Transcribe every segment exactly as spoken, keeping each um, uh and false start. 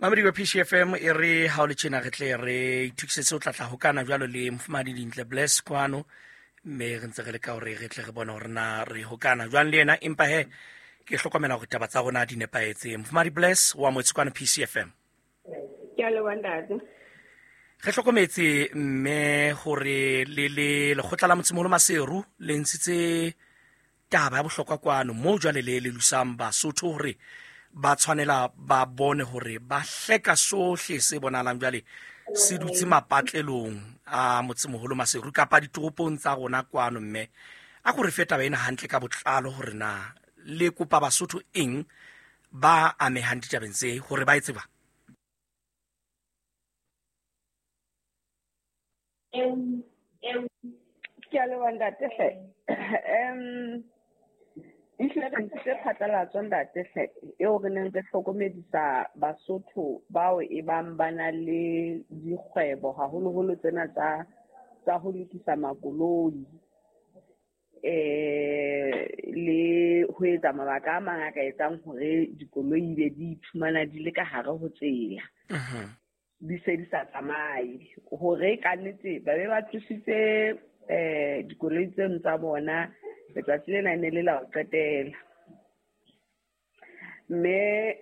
Mamedi wa P C F M e re ha o le tjena re tle re itukisetse ho tlatla hokana jwalo le Mofumahadi Dintle Bless kwano, mme re ntse re leka hore re tle re bone hore na re hokana jwang le yena, empa he ke hlokomela hore taba tsa rona di nepahetse. Mofumahadi Bless wa motse kwano P C F M. Ke a leboha ntate. Re hlokometse mme hore le le lekgotla la Motsemoholo Maseru le ntshitse taba ya bohlokwa kwano moo jwale le le lusang Basotho hore ba tshwanela ba bone hore ba hleka sohle se bonahalang jwale se dutse mapatlelong a Motsemoholo Maseru kapa ditoropong tsa rona kwano. Mme a ko re fe taba ena hantle ka botlalo hore na le kopa Basotho eng ba amehang ditabeng tse hore ba e tseba. Ke a leboha ntate hle. Em ehlile re ntshitse phatlalatso ntate hle, eo re neng re hlokomedisa Basotho bao e bang ba na le dikgwebo haholoholo tsena tsa tsa ho lokisa makoloi eh le ho etsa mabaka a mang a ka etsang hore dikoloi be di iphumana di le ka hare ho tsela. Di se di sa tsamaye, hore ka nnete ba be ba tlositse eh dikoloi tseno tsa bona letsatsi lena e ne le la ho qetela. Mme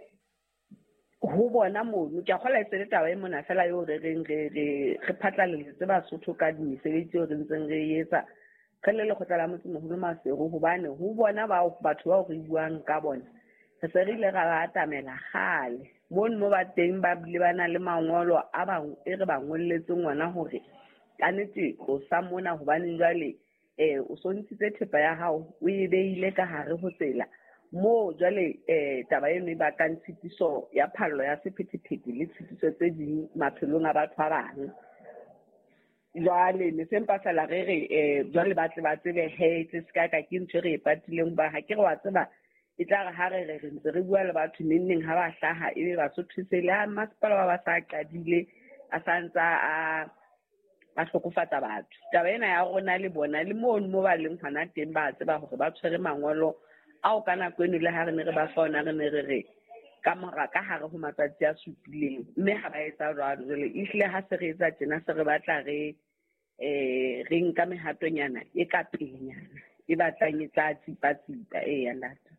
ho bona mono ke a kgolwa e se le taba e mona fela eo re reng re re re phatlaletse Basotho ka mesebetsi eo re ntseng re e etsa re le lekgotla la Motsemoholo Maseru, hobane ho bona bao batho bao re buang ka bona re se re ile ra ba atamela kgale mono mo ba teng, ba bile ba na le mangolo a ba e re ba ngolletseng ona hore ka nnete tlosa mona, hobane jwale eh o so ntshitse thepa ya hao o e beile ka hare ho tsela moo jwale eh taba eno e bakang tshitiso ya phallo ya sephethephethe le tshitiso tse ding maphelong a batho ba bang. Jwale ne se mpa fela re re eh jwale ba tle ba tsebe he tle se ka ka ke ntho e re e patileng, ba ha ke re wa tseba e tla re ha re re re ntse re bua le batho neng neng ha ba hlaha ebe Basotho se le ha masepala ba ba sa qadile a sa ntsa a ba hlokofatsa batho. Taba ena ya rona le bona le mono mo ba leng hona teng ba tseba hore ba tshwere mangolo ao ka nako eno le ha re ne re ba fa ona re ne re re ka mora ka hare ho matsatsi a supileng, mme ha ba etsa jwalo. Jwale ehlile ha se re etsa tjena se re batla re eh re nka mehatonyana e ka pelenyana e batlang e tla tsipa-tsipa. Eya ntate.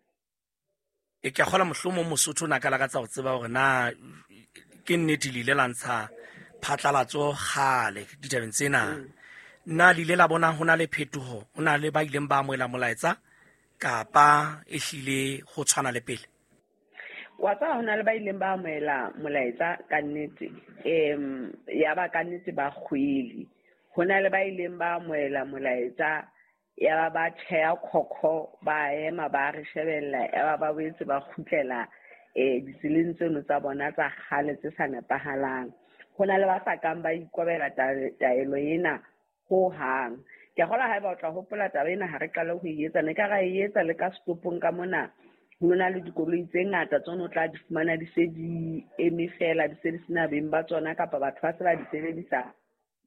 E ke a kgolwa mohlomong Mosotho o na ka lakatsa ho tseba hore na ke nnete le ile la ntsha phatlalatso kgale ditabeng tsena. Na le ile la bona ho na le phetoho, ho na le ba ileng ba amohela molaetsa kapa ehlile ho tshwana le pele? Wa tseba ho na le ba ileng ba amohela molaetsa ka nnete, em ya ba ka nnete ba kgwele. Ho na le ba ileng ba amohela molaetsa ya ba ba tjheya khokho, ba ema ba re shebella, ya ba ba boetse ba kgutlela eh ditseleng tseno tsa bona tsa kgale tse sa nepahalang. Ho na le ba sa kang ba ikobela taelo ena ho hang. Ke a kgolwa haeba o tla hopola taba ena ha re qale ho e etsa, ne ka ra e etsa le ka setopong ka mona. Ho na le dikoloi tse ngata tsona o tla di fumana di se di eme fela, di se di sena beng ba tsona kapa batho ba se ba di sebedisa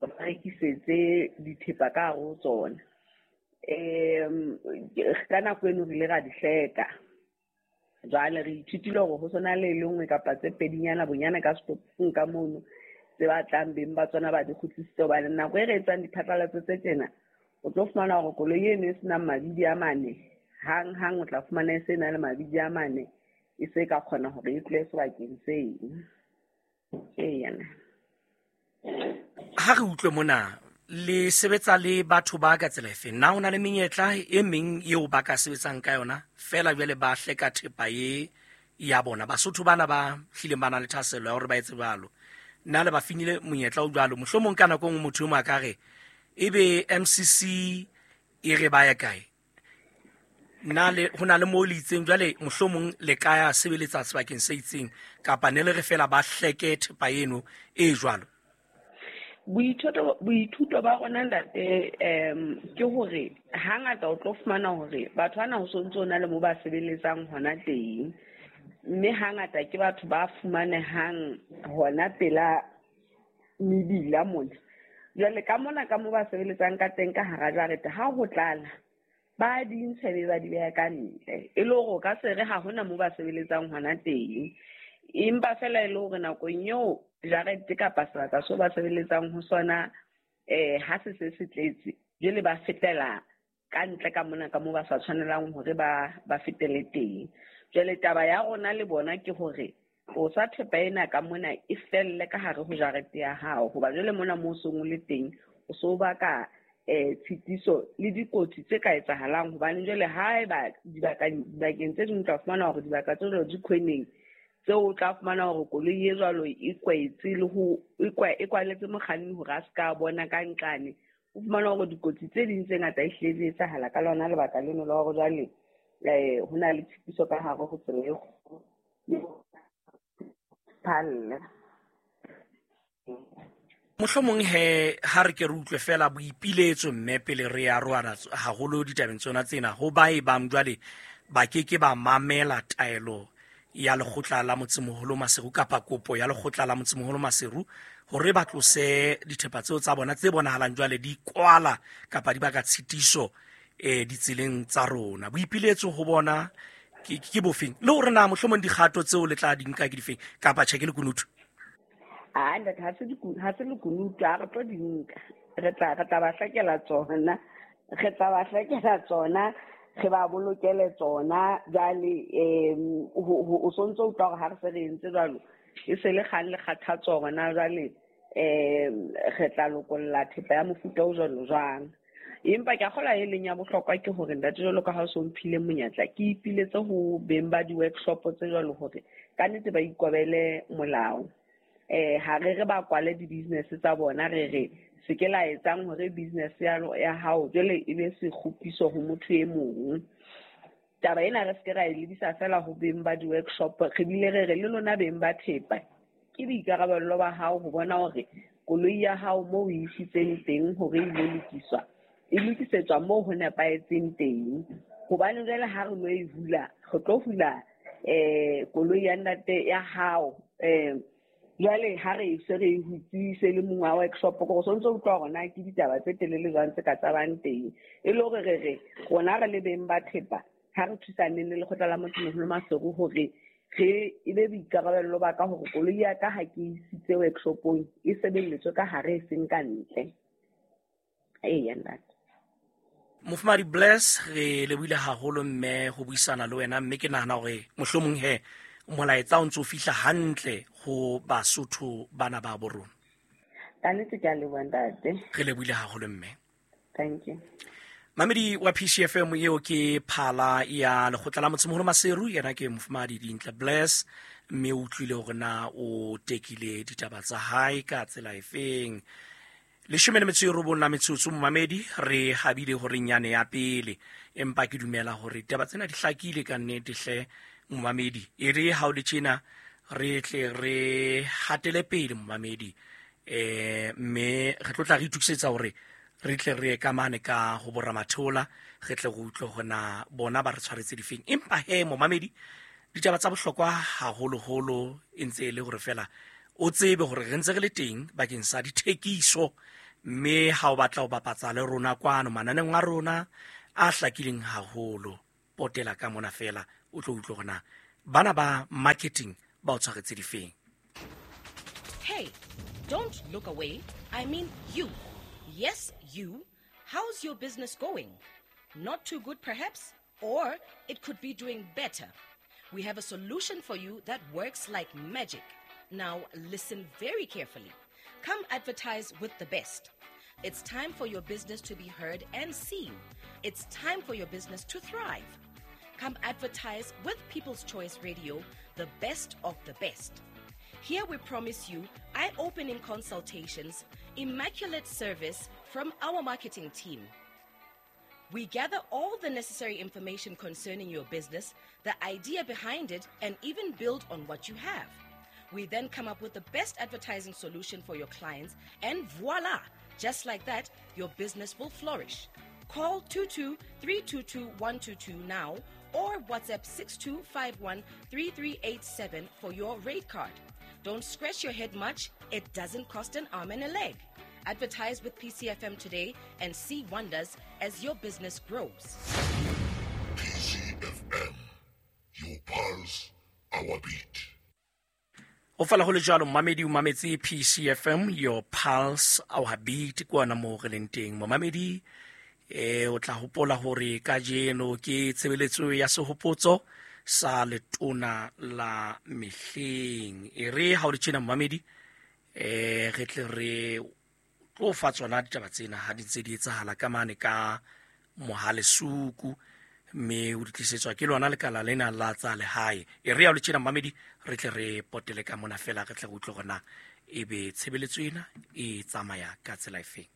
ba rekisetse dithepa ka hare ho tsona. Em ka nako eno re ile ra di hleka. Jwale re ithutile hore ho sona le e le nngwe kapa tse pedinyana bonyane ka setopong ka mono tse batlang beng ba tsona ba di kgutlisitse, hobane nako e re etsang diphatlalatso tse tjena o tlo fumana hore koloi eno e senang mabidi a mane hang hang o tla fumana e se na le mabidi a mane e se ka kgona hore e tlohe sebakeng seng. Eya. Ha re utlwe mona le sebetsa le batho ba ka tsela efe? Na ho na le menyetla e meng eo ba ka sebetsang ka yona fela jwale ba hleka thepa e ya bona? Basotho bana ba hlileng ba na le thahasello ya hore ba etse jwalo, na le ba finile monyetla o jwalo? Mohlomong ka nako e nngwe motho e mong a ka re ebe M C C e re ba ya kae? Na le ho na le moo le itseng jwale mohlomong le ka ya sebeletsa sebakeng se itseng, kapa ne le re fela ba hleke thepa eno e jwalo? Boithuto, boithuto ba rona ntate em ke hore hangata o tlo fumana hore batho bana ho sontso o na le mo ba sebeletsang hona teng, mme hangata ke batho ba fumanehang hona pela mebila mona. Jwale ka mona ka mo ba sebeletsang ka teng ka hara jarete ha ho tlala ba di ntsha be ba di beha ka ntle, e le hore o ka se re ha hona mo ba sebeletsang hona teng. Empa fela e le hore nakong eo jarete kapa sebaka seo ba sebeletsang ho sona eh ha se se se tletse, jwale ba fetela ka ntle ka mona ka moo ba sa tshwanelang hore ba ba fetele teng. Jwale taba ya rona le bona ke hore tlosa thepa ena ka mona e felle ka hare ho jarete ya hao, hoba jwale mona moo o seng o le teng o so baka eh tshitiso le dikotsi tse ka etsahalang. Hobane jwale haeba dibaka dibakeng tse ding o tla fumana hore dibaka tse jwalo di khweneng, tseo o tla fumana hore koloi e jwalo e kwetse le ho e kwaletse mokganni hore a se ka bona ka nqane. O fumana hore dikotsi tse ding tse ngata ehlile di etsahala ka lona lebaka leno la hore jwale eh ho na le tshitiso ka hare ho tsela e kgolo phalle. Mohlomong he ha re ke re utlwe fela boipiletso mme pele re ya roana haholo ditabeng tsona tsena, ho ba e bang jwale ba ke ke ba mamela taelo ya lekgotla la motsemoholo Maseru kapa kopo ya lekgotla la motsemoholo Maseru hore ba tlose dithepa tseo tsa bona tse bonahalang jwale di kwala kapa di baka tshitiso eh ditseleng tsa rona. Boipiletso ho bona ke ke bofeng, le hore na mohlomong dikgato tseo le tla di nka ke difeng kapa tjhe ke lekunutu? Ah, ntate, ha se ha se lekunutu, ha re tlo di nka. Re tla re tla ba hlakela tsona, re tla ba hlakela tsona, re ba bolokele tsona. Jwale um o sontso utlwa hore ha re se re entse jwalo e se le kgang le kgathatso hore jwale um re tla lokolla thepa ya mofuta o jwalo jwang. Empa ke a kgolwa e leng ya bohlokwa ke hore ntate, jwalo ka ha o so mphile monyetla, ke ipiletse ho beng ba di-workshop tse jwalo hore ka nnete ba ikobele molao. Eh ha re re ba kwale di-business tsa bona, re re se ke la etsang hore business ya ya hao jwale e be sekgopiso ho motho e mong. Taba ena re se ke ra e lebisa fela ho beng ba di-workshop, re bile re re le lona beng ba thepa, ke boikarabello ba hao ho bona hore koloi ya hao moo o e isitseng teng hore e lo lokiswa, e lokisetswa moo ho nepahetseng teng. Hobane jwale ha re lo e hula, re tlo hula eh koloi ya ntate ya hao eh jwale ha re se re e hutse se le mongwe wa workshop, ko so ntso utlwa hore na ke ditaba tse telele jwang tse ka tsabang teng. E le hore re re rona re le beng ba thepa ha re thusaneng le lekgotla la motsemoholo Maseru hore re e be boikarabello ba ka hore koloi ya ka ha ke isitse workshopong e sebeletswe ka hare e seng ka ntle. Eya ntate. Mofumahadi Bless, re lebohile haholo mme ho buisana le wena, mme ke nahana hore mohlomong he molaetsa o ntso fihla hantle ho Basotho bana ba bo rona. Ka nnete ke a leboha ntate. Re lebohile haholo mme. Thank you. Mamedi wa P C F M, eo ke phala ya lekgotla la motsemoholo Maseru, yena ke Mofumahadi Dintle Bless, mme o utlwile hore na o tekile ditaba tsa hae ka tsela efeng. Leshome le metso e robong la metsotso, momamedi, re habile hore nyane ya pele, empa ke dumela hore ditaba tsena di hlakile ka nnete hle momamedi. E re ha o le tjena re tle re hatele pele momamedi, eh mme re tlo tla re itokisetsa hore re tle re ye ka mane ka ho boramathola, re tle re utlwe hore na bona ba re tshwaretse difeng. Empa he momamedi, ditaba tsa bohlokwa haholoholo e ntse e le hore fela o tsebe hore re ntse re le teng bakeng sa dithekiso, mme ha o batla ho bapatsa le rona kwano mananeng a rona a hlakileng haholo, potela ka mona fela o tlo utlwe hore na bana ba marketing ba o tshwaretse difeng. Hey, don't look away. I mean you. Yes, you. How's your business going? Not too good, perhaps? Or it could be doing better. We have a solution for you that works like magic. Now, listen very carefully. Come advertise with the best. It's time for your business to be heard and seen. It's time for your business to thrive. Come advertise with People's Choice Radio, the best of the best. Here we promise you eye-opening consultations, immaculate service from our marketing team. We gather all the necessary information concerning your business, the idea behind it, and even build on what you have. We then come up with the best advertising solution for your clients, and voila! Just like that, your business will flourish. Call two two three two two one two two now or WhatsApp six two five one three three eight seven for your rate card. Don't scratch your head much. It doesn't cost an arm and a leg. Advertise with P C F M today and see wonders as your business grows. P C F M, your pulse, our beat. Ho fela ho le jwalo momamedi o mametse P C F M, your pulse our beat, kwana mo re leng teng. Momamedi eh o tla hopola hore kajeno ke tshebeletso ya sehopotso sa letona la mehleng. E re ha o le tjena momamedi eh re tle re tlo fa tsona ditaba tsena ha di ntse di etsahala ka mane ka Mohalesuku, mme o di tlisetswa ke lona lekala lena la tsa lehae. E re ha o le tjena momamedi re tle re potele ka mona fela re tle re utlwe hore na ebe tshebeletso ena e tsamaya ka tsela efeng.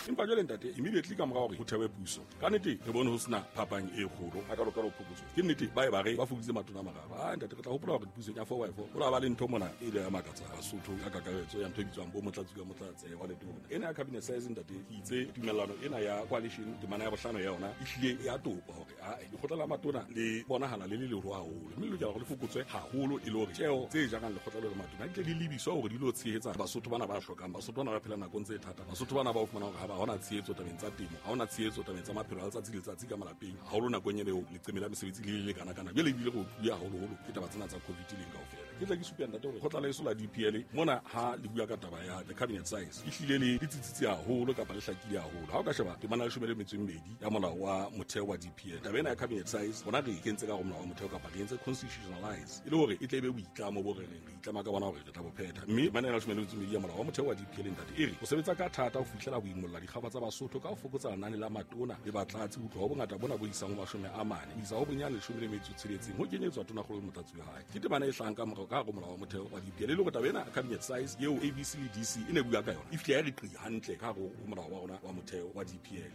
Empa jwale ntate, immediately ka mora hore ho thewe puso, ka nnete re bone ho sena phapang e kgolo hakalo-kalo phokotso. Ke nnete ba e ba re ba fokoditse matona a mararo. Ah ntate, re tla hopola hore pusong ya four by four ho la ba le ntho mona e ile ya makatsa Basotho ka kakaretso ya ntho e bitswang bo motlatsi ka motlatse wa letona. Ena ya cabinet size ntate, ke itse tumellano ena ya coalition temana ya bohlano ya yona e hlile ya topa hore ah lekgotla la matona le bonahala le le leholo haholo, mme le lokela hore le fokotswe haholo e le hore tjeo tse jarang lekgotla le matona di tle di lebiswa hore di lo tshehetsa Basotho bana ba hlokang, Basotho bana ba phelang nakong tse thata, Basotho bana ba fumana hore ha ba hona tshehetso tabeng tsa temo, ha hona tshehetso tabeng tsa maphelo a letsatsi le letsatsi ka malapeng, haholo nakong eo leqeme la mesebetsi le le kana kana. Jwale ebile re utlwile haholoholo ke taba tsena tsa COVID leng kaofela. Ke tla ke supe ntate hore kgotla la eso la D P L mona ha le bua ka taba ya the cabinet size e hlile le le tsitsitse haholo kapa le hlakile haholo. Ha o ka sheba temana ya leshome le metso e mmedi ya molao wa motheo wa D P L, taba ena ya cabinet size rona re e kentse ka hare ho molao wa motheo kapa re entse constitutionalize e le hore e tle e be boitlamo bo re reng re itlama ka bona hore re tla bo phetha. Mme temana ya leshome le metso e mmedi ya molao wa motheo wa D P L ntate e re o sebetsa ka thata ho fihlela ho imolla dikgaba tsa Basotho ka ho fokotsa lenane la matona le batlatsi ho tloha ho bongata bona bo isang ho mashome a mane ho isa ho bonyane leshome le metso e tsheletseng ho kenyetswa tonakgolo le motlatsi wa hae. Ke temana e hlahang ka morao ka hare ho molao wa motheo wa D P L e le hore taba ena cabinet size eo A B C le D C e ne bua ka yona e fihle ya re qi hantle ka hare ho molao wa rona wa motheo wa D P L.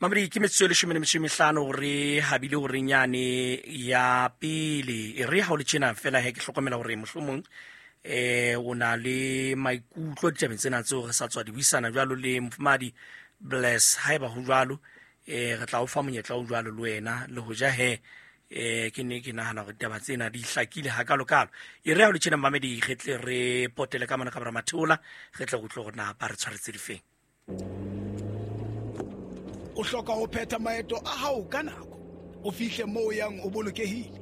Mamedi ke metsotso e leshome le metso e mehlano re habile hore nyane ya pele. E re ha o le tjena fela he ke hlokomela hore mohlomong eh o na le maikutlo ditabeng tsena tseo re sa tswa di buisana jwalo le mofumadi Bless. Haeba ho jwalo eh re tla o fa monyetla o jwalo le wena le hoja he eh ke ne ke nahana hore ditaba tsena di hlakile hakalo-kalo. E re ha o le tjena mamedi re tle re potele ka mona ka bora Matheola, re tle re utlwe hore na ba re tshwaretse difeng. O hloka ho phetha maeto a hao ka nako, o fihle moo o yang o bolokehile.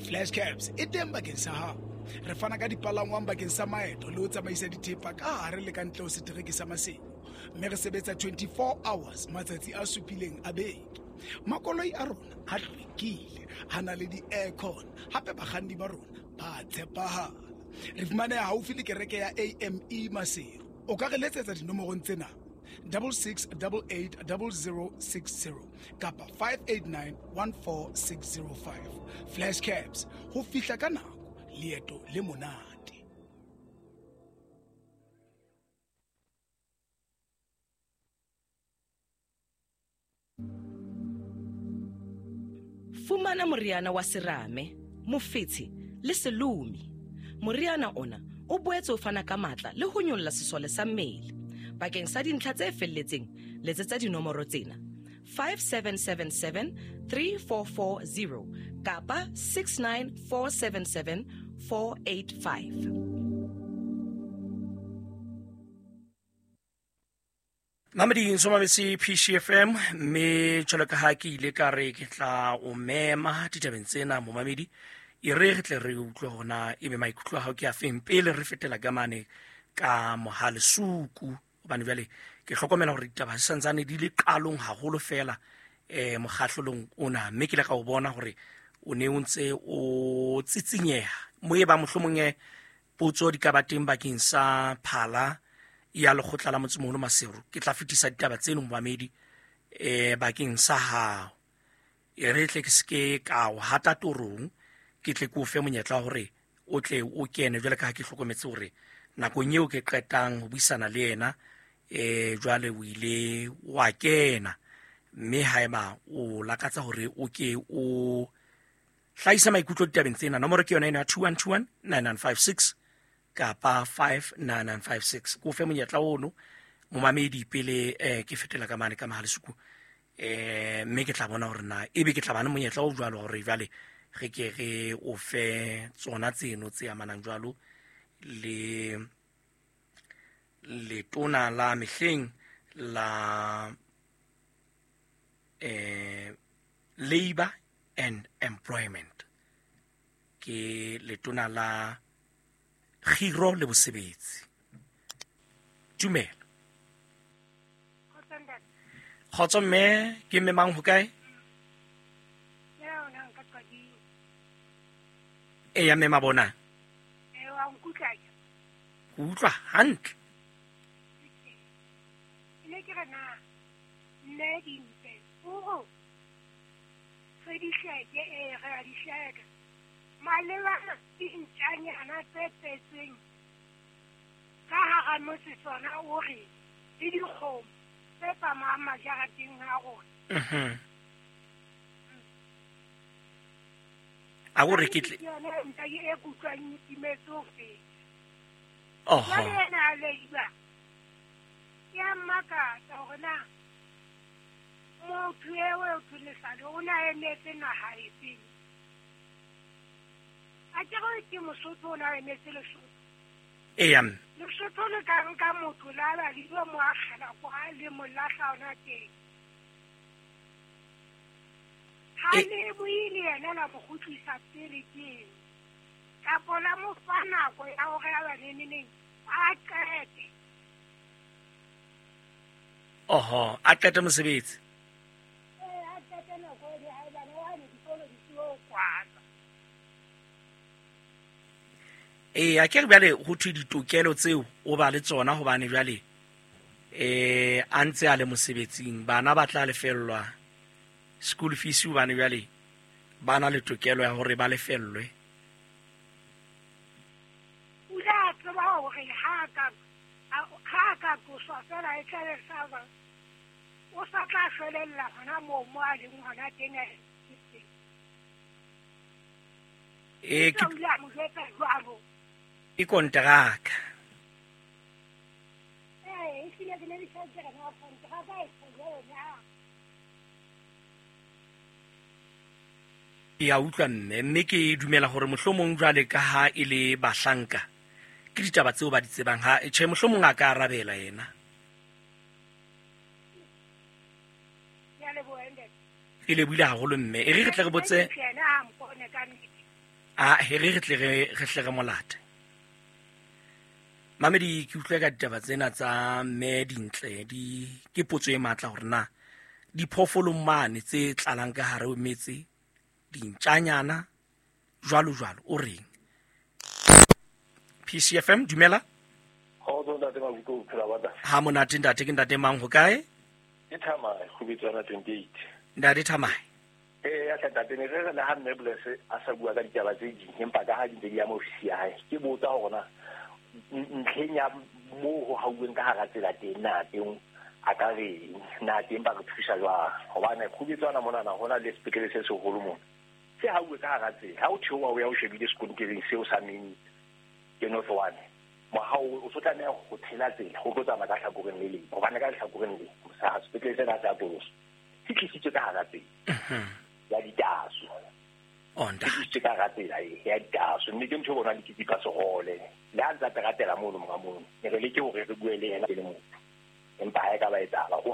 Flash Cabs e teng bakeng sa hao. Re fana ka dipalangwang bakeng sa maeto le ho tsamaisa dithepa ka hare le ka ntle ho setereke sa Maseru, mme re sebetsa twenty-four hours matsatsi a supileng a beke. Makoloi a rona a hlwekile, a na le di-aircon, hape bakganni ba rona ba tshepahala. Re fumaneha haufi le kereke ya A M E Maseru. O ka re letsetsa dinomorong tsena: double six double eight double zero six zero kapa five eight nine one four six zero five. Flash Cabs, ho fihla ka nako, leeto le monate. Fumana moriana wa serame, mofetshe le selomi. Moriana ona o boetse o fana ka matla le ho nyolla sesole sa mmele. Bakeng sa dintlha tse felletseng, letsetsa dinomoro tsena: five seven seven seven three four four zero kapa six nine four seven seven four eight five. Mamedi ntso mametse P C F M, mme jwalo ka ha ke ile ka re ke tla o mema ditabeng tsena momamedi, e re re tle re utlwe hore na ebe maikutlo a hao ke a feng pele re fetela ka mane ka Mohalesuku, hobane jwale ke hlokomela hore ditaba di santsane di le qalong haholo fela eh mokgahlelong ona, mme ke ile ka o bona hore o ne o ntse o tsitsinyeha mo e ba mohlomong e potso di ka ba teng bakeng sa phala ya lekgotla la motsemoholo Maseru. Ke tla fetisa ditaba tseno momamedi eh bakeng sa hao. E re tle ke seke ka o hata torong, ke tle ke o fe monyetla wa hore o tle o kene jwale ka ha ke hlokometse hore nakong eo ke qetang ho buisana le yena eh jwale o ile wa kena, mme haeba o lakatsa hore o ke o hlahisa maikutlo ditabeng tsena, nomoro ke yona ena ya two one two one nine nine five six kapa five nine nine five six. Ko fe monyetla ono momamedi pele eh ke fetela ka mane ka Mohalesuku, eh mme ke tla bona hore na ebe ke tla ba le monyetla o jwalo hore jwale re ke re o fe tsona tseno tse amanang jwalo le letona la mehleng la eh Labour and Employment. Ke letona la kgiro le bosebetsi. Tumela. Kgotso mme, ke mme mang ho kae? E ya mme Mabona. Ke utlwa hantle. Ne ke re na nne dimpe o re di hleke e re a di hleka malebana dintjanyana tse tsetseng ka hara motse tsona o re le dikgomo tse tsamayang majareteng a rona. Mhm. A o re ke tle yona nta e kutlwang e timetse ho feta. Oho. Jwale yena a leiba ya mmakatsa hore na motho eo eo Lesale o na emetse naha efeng. A ke re ke Mosotho o na emetse Lesotho. Eya mme. Lesotho le ka nka motho la ba le lo mo akgela kwa le mo lahla ona teng. Ha E- le buile yena la mo kgutlisa pele teng. Kapo la mo fa nako ya hore a ba neneneng a qete. Oho, a qete mosebetsi. Ee, a qete nako e haebane wane dikolo di tlo kwalwa. Ee, a ke re bjale ho thwe ditokelo tseo o ba le tsona hobane jwale eh a ntse a le mosebetsing, bana ba tla lefellwa school fees hobane jwale ba na le tokelo ya hore ba lefellwe. O ile a tseba hore ha a ka ha a ka tloswa fela e tla be sa ba o sa tla shwelella hona moo mo a leng hona teng a teng. Eh ke O ile a mo jwetsa jwalo. ke konteraka. Ee, ehlile ke ne ke sa ke re na konteraka e jwalo na. Ke a utlwa mme, mme ke dumela hore mohlomong jwale ka ha e le bahlanka ke ditaba tseo ba di tsebang ha tjhe mohlomong a ka arabela yena. Ke a leboha ntate. E lebohile haholo mme. E re re tle re botse Yena ha mpone ka nnete. a he re re tle re re hle re molate. Mamedi ke utlwe ka ditaba tsena tsa mme Dintle di ke potso e matla hore na diphoofolong mane tse tlalang ka hare ho metse dintjanyana jwalo jwalo o reng? P C F M dumela. Kgotso ntate Makuto, o phela ba kae? Ha monate ntate, ke ntate mang ho kae? Ke Thamae, Kgubetswana twenty-eight. Ntate Thamae. Ee, ya ntate ne re re le ha mme Bless a sa bua ka ditaba tse ding, empa ka ha di ntse di ama ofisi ya hae, ke botsa hore na ntlheng ya moo ho hauweng ka hara tsela teng na teng a ka reng, na teng ba re thusa jwang? Hobane Kgubetswana monana ho na le sepetlele se seholo mona se hauwe ka hara tsela. Ha o theoha o ya o shebile sekontereng seo sa main ke North One, mohao o so tlameha ho tshela tsela ho tlo tsamaya ka hlakoreng le leng, hobane ka lehlakoreng le sa sepetlele sena se atoloswa se tlisitswe ka hara tsela ya ditaso. Oh, ntate. Se tlisitswe ka hara tsela e ya ditaso, mme ke ntho e bonang le ke tsipa sehole le ha ntse a teratela mono monga mono, ne re leke hore re bue le yena e le motho, empa ha e ka ba etsahala ho